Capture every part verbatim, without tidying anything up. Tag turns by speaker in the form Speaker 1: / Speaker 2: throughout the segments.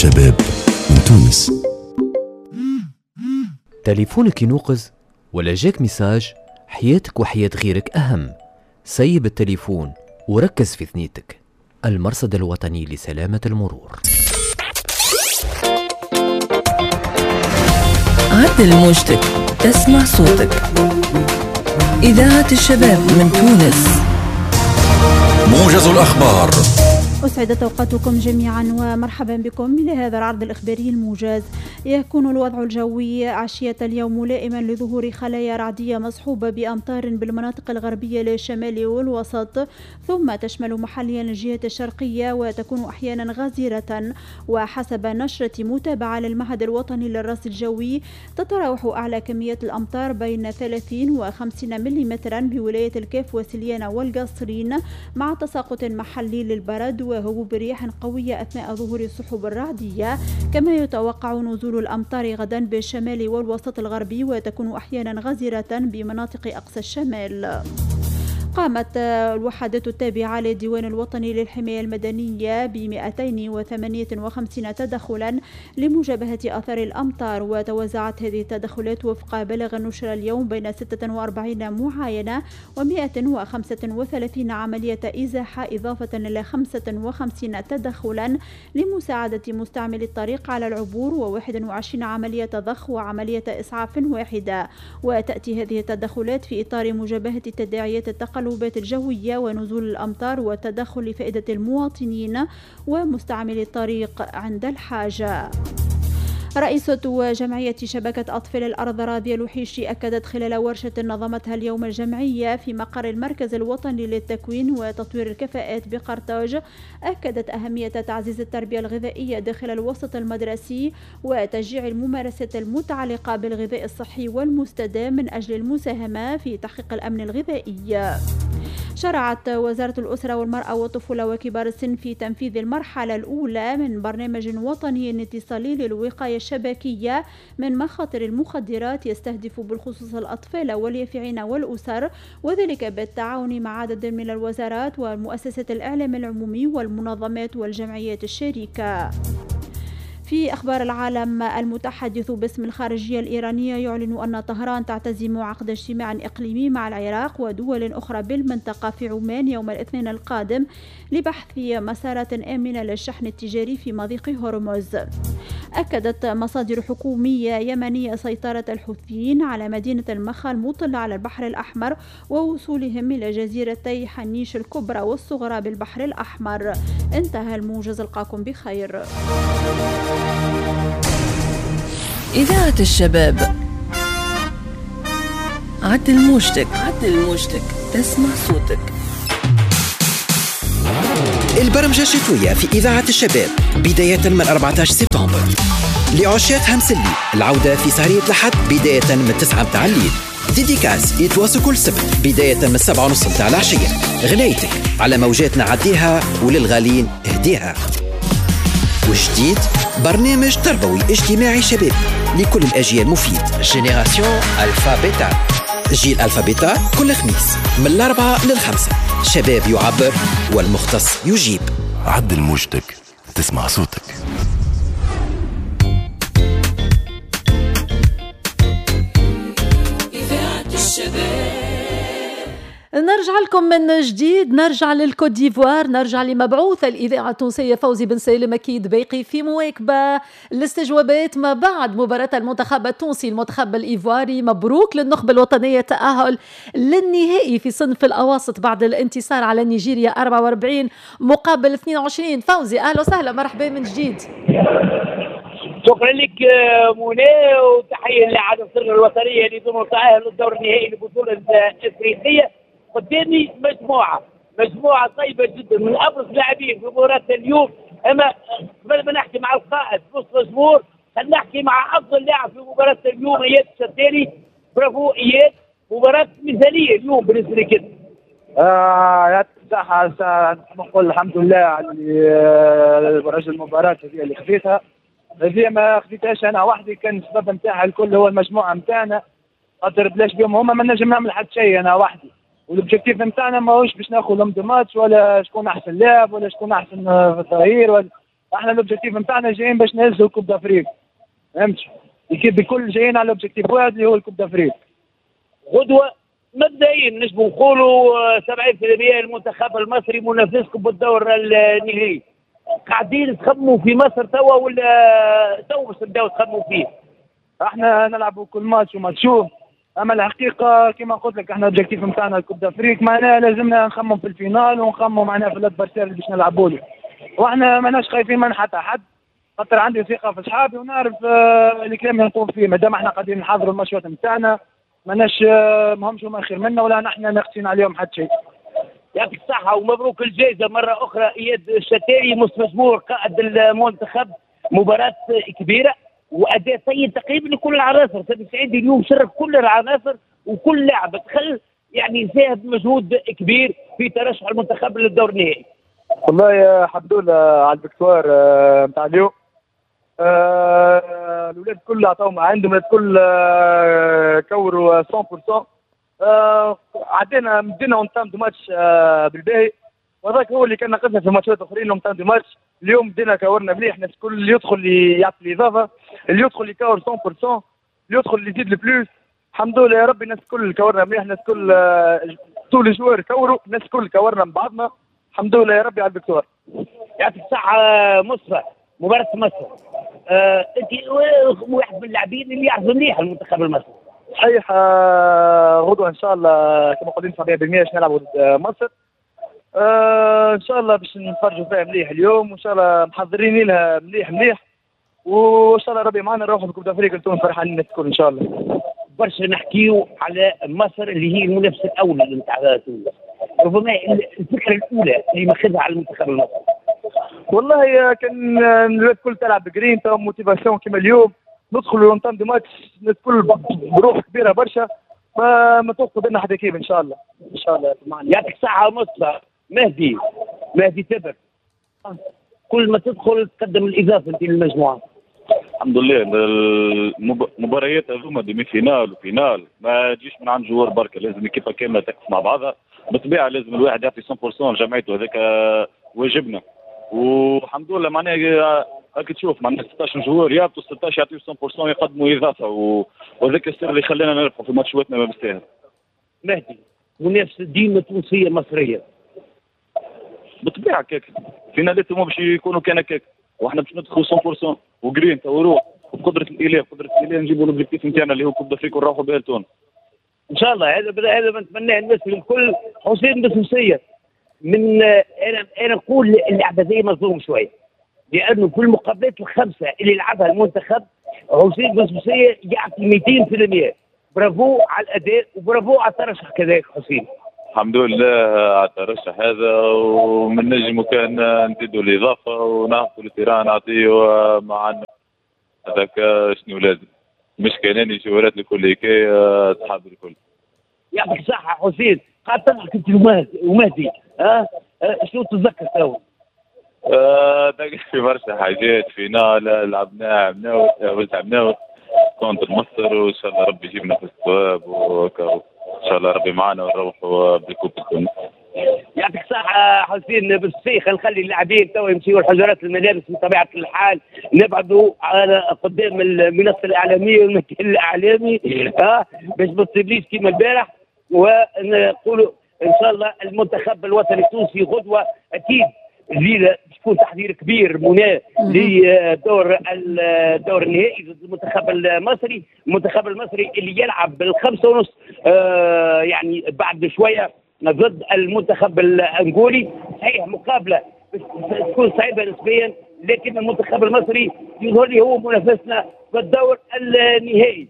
Speaker 1: الشباب من تونس.
Speaker 2: تليفونك ينوقز ولا جاك message، حياتك وحياة غيرك أهم. سيب التليفون وركز في ثنيتك. المرصد الوطني لسلامة المرور.
Speaker 3: عدل موجتك تسمع صوتك. إذاعة الشباب من تونس.
Speaker 1: موجز الأخبار.
Speaker 4: أسعدت أوقاتكم جميعا ومرحبا بكم إلى هذا العرض الإخباري الموجز. يكون الوضع الجوي عشية اليوم ملائما لظهور خلايا رعدية مصحوبة بأمطار بالمناطق الغربية للشمال والوسط، ثم تشمل محليا الجهة الشرقية وتكون أحيانا غزيرة. وحسب نشرة متابعة للمعهد الوطني للرصد الجوي، تتراوح أعلى كمية الأمطار بين ثلاثين وخمسين ملم بولاية الكاف وسليانة والقصرين، مع تساقط محلي للبرد وهبوب رياح قوية أثناء ظهور السحب الرعدية. كما يتوقع نزول الأمطار غدا بالشمال والوسط الغربي، وتكون أحيانا غزيرة بمناطق أقصى الشمال. قامت الوحدات التابعة للديوان الوطني للحماية المدنية ب مئتين وثمانية وخمسين تدخلا لمجابهة آثار الأمطار، وتوزعت هذه التدخلات وفق بلاغ نشر اليوم بين ستة وأربعين معاينة ومئة وخمسة وثلاثين عملية إزاحة، إضافة إلى خمسة وخمسين تدخلا لمساعدة مستعمل الطريق على العبور، وواحد وعشرين عملية ضخ وعملية إسعاف واحدة. وتأتي هذه التدخلات في إطار مجابهة تداعيات التقلبات الجوية ونزول الأمطار والتدخل لفائدة المواطنين ومستعملي الطريق عند الحاجة. رئيسة جمعية شبكة أطفال الأرض راضية لوحيشي أكدت خلال ورشة نظمتها اليوم الجمعية في مقر المركز الوطني للتكوين وتطوير الكفاءات بقرطاج، أكدت أهمية تعزيز التربية الغذائية داخل الوسط المدرسي وتشجيع الممارسات المتعلقة بالغذاء الصحي والمستدام من أجل المساهمة في تحقيق الأمن الغذائي. شرعت وزارة الأسرة والمرأة والطفولة وكبار السن في تنفيذ المرحلة الأولى من برنامج وطني اتصالي للوقاية الشبكية من مخاطر المخدرات، يستهدف بالخصوص الأطفال واليافعين والأسر، وذلك بالتعاون مع عدد من الوزارات ومؤسسات الإعلام العمومي والمنظمات والجمعيات الشريكة. في أخبار العالم، المتحدث باسم الخارجية الإيرانية يعلن أن طهران تعتزم عقد اجتماع إقليمي مع العراق ودول أخرى بالمنطقة في عمان يوم الاثنين القادم لبحث مسارات آمنة للشحن التجاري في مضيق هرمز. أكدت مصادر حكومية يمنية سيطرة الحوثيين على مدينة المخا المطلة على البحر الأحمر ووصولهم إلى جزيرتي حنيش الكبرى والصغرى بالبحر الأحمر. انتهى الموجز، ألقاكم بخير.
Speaker 3: إذاعة الشباب. عدل موجتك، عدل موجتك تسمع صوتك.
Speaker 5: البرمجة الشتوية في إذاعة الشباب بداية من أربعة عشر سبتمبر. لعشاق همس الليل العودة في سهرية الأحد بداية من تسعة متاع الليل. dédicace يتواصل كل سبت بداية من سبعة ونص متاع العشية. غنايتك على موجاتنا عديها وللغالين اهديها. وجديد برنامج تربوي اجتماعي شبابي لكل الأجيال مفيد، génération Alpha Beta، جيل Alpha Beta، كل خميس من الأربعة للخمسة. شباب يعبر والمختص يجيب.
Speaker 1: عدل موجتك تسمع صوتك.
Speaker 3: إذاعة الشباب.
Speaker 6: نرجع لكم من جديد، نرجع للكوت ديفوار، نرجع لمبعوث الإذاعة التونسية فوزي بن سالم، أكيد باقي في مواكبة الاستجوابات ما بعد مباراة المنتخب التونسي المنتخب الإيفواري. مبروك للنخبة الوطنية تأهل للنهائي في صنف الأواسط بعد الانتصار على نيجيريا أربعة وأربعين مقابل اثنين وعشرين. فوزي أهلا وسهلا، مرحبا من جديد.
Speaker 7: شكرا لك منى، وتحية لعناصر الوطنية اللي ضمنوا التأهل للدور النهائي للبطولة الإفريقية. قدامي مجموعة مجموعة طيبة جدا من أبرز اللاعبين في مباراة اليوم. أما قبل ما نحكي مع القائد نص مزمور، خلينا نحكي مع أفضل لاعب في مباراة اليوم إياد الشتاني. برافو إياد، مباراة مثالية اليوم بالنسبة لك.
Speaker 8: آه يعطيك الصحة، نقول الحمد لله على رجل المباراة هذه اللي خذيتها. هذه ما خذيتهاش أنا وحدي، كان السبب نتاعها الكل هو المجموعة نتاعنا، خاطر بلاش بهم هما ما نجم نعمل حتى شيء أنا وحدي. وال objectif نتاعنا ماهوش باش ناخذ l'homme du match ولا شكون احسن لاعب ولا شكون احسن في الظهير ولا احنا l'objectif نتاعنا جايين باش نهزوا ال Coupe d'Afrique، فهمت؟ l'équipe الكل جايين على l'objectif واحد اللي هو ال Coupe d'Afrique.
Speaker 7: غدوه مبدئيا نجموا نقولوا سبعين بالمئة المنتخب المصري منافسكم بالدور النهائي. قاعدين تخموا في مصر توا ولا توا باش تبداو تخموا فيه؟
Speaker 8: احنا نلعبوا كل ماتش وماتشو، اما الحقيقة كما قلت لك احنا l'objectif نتاعنا ال Coupe d'Afrique، معناها لازمنا نخمم في ال finale ونخمم معناها في l'adversaire اللي باش نلعبوا له، واحنا ماناش خايفين من حتى حد، خاطر عندي ثقة في اصحابي ونعرف آه الكلام اللي نقول فيه، مادام احنا قاعدين نحضروا الماتشات نتاعنا ماناش آه ماهمش هما خير منا ولا نحن ناقصين عليهم حتى شيء.
Speaker 7: يعطيك الصحة ومبروك الجائزة مرة أخرى إياد الشتاري مستثمر قائد المنتخب، مباراة كبيرة وأداء طيب تقريبا لكل العناصر، سامي سعيد اليوم شرف كل العناصر وكل لاعب دخل يعني ساهم بمجهود كبير في ترشح المنتخب للدور النهائي.
Speaker 8: والله يا الحمد لله على ال victoire نتاع اليوم، الاولاد الكل عطاو ما عندهم، الولاد الكل كوروا مية بالمية، آه عدينا مدينا entame de match آه بالباهي، وهذاك هو اللي كان ناقصنا في ماتشات اخرين entame de match. اليوم بدينا كورنا مليح، الناس الكل اللي يدخل يعطي الاضافة، اللي يدخل يكور مية بالمية، اللي يدخل اللي يزيد ال plus. الحمد لله يا ربي الناس الكل كورنا مليح، الناس الكل آه tous les joueurs كوروا، الناس الكل كورنا من بعضنا، الحمد لله يا ربي على ال victoire.
Speaker 7: يعطيك الصحة مصطفى. مباراة مصر آه، انت واحد من اللاعبين اللي يعرفوا مليح المنتخب المصري.
Speaker 8: صحيح، غدوه ان شاء الله كما قلنا سبعين بالمية باش نلعبوا ضد مصر، آه ان شاء الله باش نتفرجوا فيها مليح اليوم، وان شاء الله محضرين لها مليح مليح، وان شاء الله ربي معنا نروحوا ب Coupe d'Afrique لتونس فرحانين الناس الكل ان شاء الله.
Speaker 7: برشا نحكيو على مصر اللي هي المنافس الاول نتاع تونس، ربما الفكرة الاولى اللي ماخذها على المنتخب المصري.
Speaker 8: والله كان الولاد الكل تلعب ب grinta motivation كيما اليوم، ندخلوا l'entame de match الناس الكل بروح كبيرة برشا، ما ما توقف بينا حتى équipe ان شاء الله. ان شاء الله
Speaker 7: يعطيك الصحة مصطفى. مهدي مهدي تبر، كل ما تدخل تقدم الاضافة انت للمجموعة.
Speaker 9: الحمد لله المباريات هذوما demi-finale و finale ما تجيش من عند joueur بركة، لازم équipe كاملة تقف مع بعضها، بالطبيعة لازم الواحد يعطي مية بالمية لجمعيته، هذاك واجبنا. والحمد لله معناها هاك تشوف معناها ستة عشر joueur يهبطوا ستة عشر يعطيو مية بالمية يقدموا اضافه، وهذاك السر اللي خلانا نربحوا في ماتشاتنا ما بالساهل.
Speaker 7: مهدي، منافسه ديما تونسية مصرية.
Speaker 9: بالطبيعة كاك فينالات هما باش يكونوا كان هكاك، واحنا باش ندخلوا مية بالمية وجرين وروح وبقدره الاله، بقدره الاله نجيبوا l'objectif نتاعنا اللي هو Coupe d'Afrique ونروحوا بها لتونس.
Speaker 7: ان شاء الله هذا هذا ما نتمناه الناس الكل. حسين بسوسيه، من انا انا نقول اللعبة هذه مظلوم شوية، لانه في المقابلات الخمسة اللي لعبها المنتخب حسين بسوسيه يعطي مئتين بالمئة. برافو على الاداء وبرافو على الترشح كذلك حسين.
Speaker 9: الحمد لله على الترشح هذا، ومن نجم كان نزيدوا الاضافة ونعطوا ال terrain نعطيه مع هذاك شنو لازم، مش كاناني جوارات الكل كي اصحاب الكل.
Speaker 7: يعطيك الصحة حسين، قاعد تضحك انت ومهدي، ها أه؟ شنو تتذكر تو؟
Speaker 9: آه في برشا حاجات، finale لعبناها عمناو عمناو contre مصر، وان شاء الله ربي يجيبنا في الصواب، وان شاء الله ربي معنا ونروحوا بال coupe تونس.
Speaker 7: يعطيك الصحة حسين بالسيخ. نخلي اللاعبين تو يمشيوا الحجرات الملابس بطبيعة الحال، نبعدوا على قدام المنصة الإعلامية والمكان الإعلامي ها باش ما تصيبليش كيما البارح، ونقولوا إن شاء الله المنتخب الوطني التونسي غدوة أكيد الليلة باش يكون تحضير كبير منى لدور الدور النهائي ضد المنتخب المصري، المنتخب المصري اللي يلعب بالخمسة ونص آه يعني بعد شوية ضد المنتخب الأنغولي. صحيح مقابلة تكون صعيبة نسبيا، لكن المنتخب المصري يظهر لي هو منافسنا في الدور النهائي.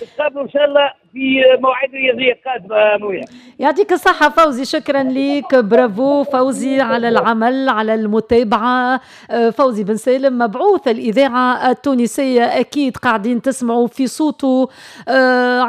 Speaker 7: نتقابلوا ان شاء الله في مواعيد رياضية قادمة. منى
Speaker 6: يعطيك الصحة فوزي، شكرا لك، برافو فوزي على العمل على المتابعة. فوزي بن سالم مبعوث الاذاعة التونسية، اكيد قاعدين تسمعوا في صوته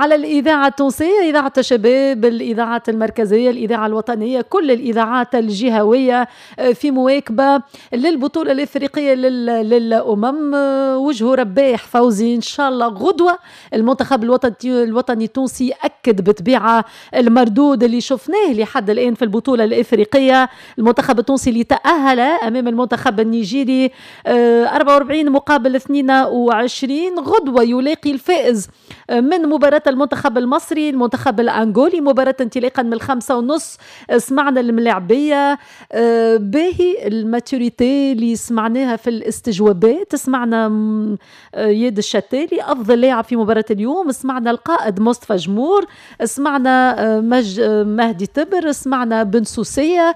Speaker 6: على الاذاعة التونسية، اذاعة الشباب، الاذاعة المركزية، الاذاعة الوطنية، كل الاذاعات الجهوية في مواكبة للبطولة الافريقية للامم. وجهه رباح فوزي، ان شاء الله غدوه المنتخب الوطني الوطني التونسي أكد بطبيعة المردود اللي شفناه لحد الآن في البطولة الإفريقية. المنتخب التونسي اللي تأهل أمام المنتخب النيجيري أربعة وأربعين مقابل اثنين وعشرين. غدوة يلاقي الفائز من مباراة المنتخب المصري المنتخب الأنغولي، مباراة انطلاقا من الخمسة ونص. سمعنا الملاعبية باهي ال maturité اللي سمعناها في الاستجوابات، سمعنا ياد الشتالي أفضل لاعب في مباراة اليوم، سمعنا القائد مصطفى جمور، سمعنا مج... مهدي تبر، سمعنا بن سوسية.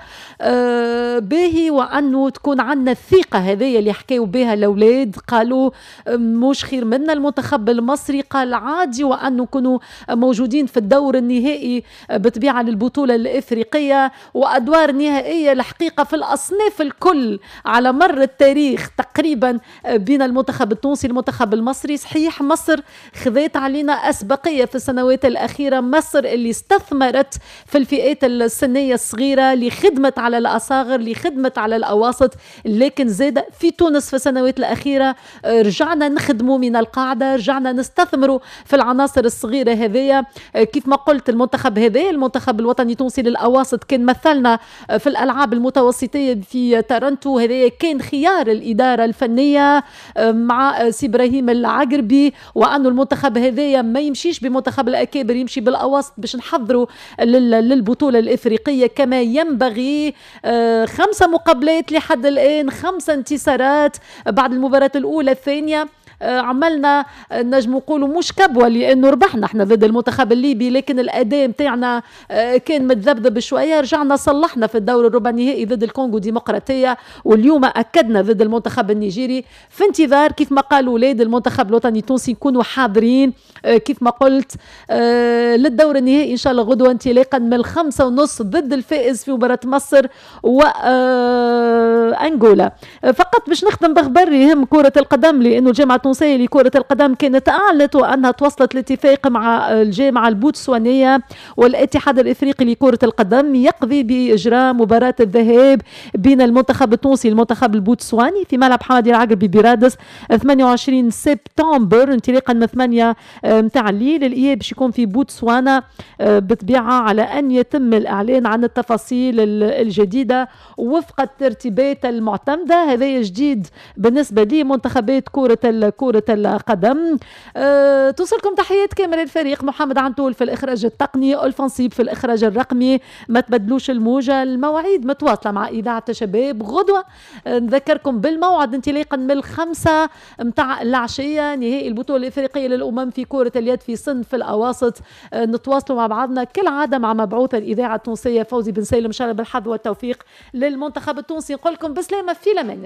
Speaker 6: باهي وأنه تكون عندنا الثقة هذه اللي حكاو بها الأولاد، قالوا مش خير منا المنتخب المصري، قال عادي وأنه كانوا موجودين في الدور النهائي بطبيعة للبطولة الإفريقية وأدوار نهائية الحقيقة في الأصناف الكل على مر التاريخ تقريبا بين المنتخب التونسي المنتخب المصري. صحيح مصر خذت علينا أسبقية في السنوات الأخيرة، مصر اللي استثمرت في الفئات السنية الصغيرة لخدمة على الأصاغر لخدمة على الأواسط، لكن زاد في تونس في السنوات الأخيرة رجعنا نخدموا من القاعدة، رجعنا نستثمروا في العناصر الصغيرة هذية. كيف ما قلت المنتخب هذا المنتخب الوطني التونسي للأواسط كان مثلنا في الألعاب المتوسطية في تورنتو، هذا كان خيار الإدارة الفنية مع سي إبراهيم العقربي، وأنه المنتخب هذايا ما يمشيش بمنتخب الأكابر، يمشي بالأواسط باش نحضروا للبطولة الإفريقية كما ينبغي. خمسة مقابلات لحد الآن، خمسة انتصارات بعد المباراة الأولى الثانية عملنا نجم نقولوا مش كبوة لانه ربحنا احنا ضد المنتخب الليبي، لكن الاداء نتاعنا كان متذبذب شوية، رجعنا صلحنا في الدور الربع النهائي ضد الكونغو ديمقراطية، واليوم اكدنا ضد المنتخب النيجيري. في انتظار كيف ما قالوا اولاد المنتخب الوطني التونسي يكونوا حاضرين كيف ما قلت للدور النهائي ان شاء الله غدوه انطلاقا من الخمسة ونص ضد الفائز في مباراة مصر وانغولا. فقط باش نختم بخبر يهم كره القدم، لانه الجامعة التونسية لكرة القدم كانت أعلنت وأنها توصلت لاتفاق مع الجامعة البوتسوانية والاتحاد الإفريقي لكرة القدم يقضي بإجراء مباراة الذهاب بين المنتخب التونسي والمنتخب البوتسواني في ملعب حمادي العقربي برادس ثمانية وعشرين سبتمبر انطلاقا من ثمانية متاع الليل. الإياب باش يكون في بوتسوانا بطبيعة على أن يتم الإعلان عن التفاصيل الجديدة وفق الترتيبات المعتمدة. هذا جديد بالنسبة لمنتخبات كرة كرة القدم. أه، توصلكم تحيات كامل الفريق، محمد عنتول في الإخراج التقني، ألفنصيب في الإخراج الرقمي. ما تبدلوش الموجة، المواعيد متواصلة مع إذاعة شباب غدوة. أه، نذكركم بالموعد انطلاقا من الخمسة متاع العشية نهائي البطولة الإفريقية للأمم في كرة اليد في صنف الأواسط. أه، نتواصلوا مع بعضنا كالعادة مع مبعوث الإذاعة التونسية فوزي بن سالم. إن شاء الله بالحظ والتوفيق للمنتخب التونسي. نقول لكم بسلامة في الأمان.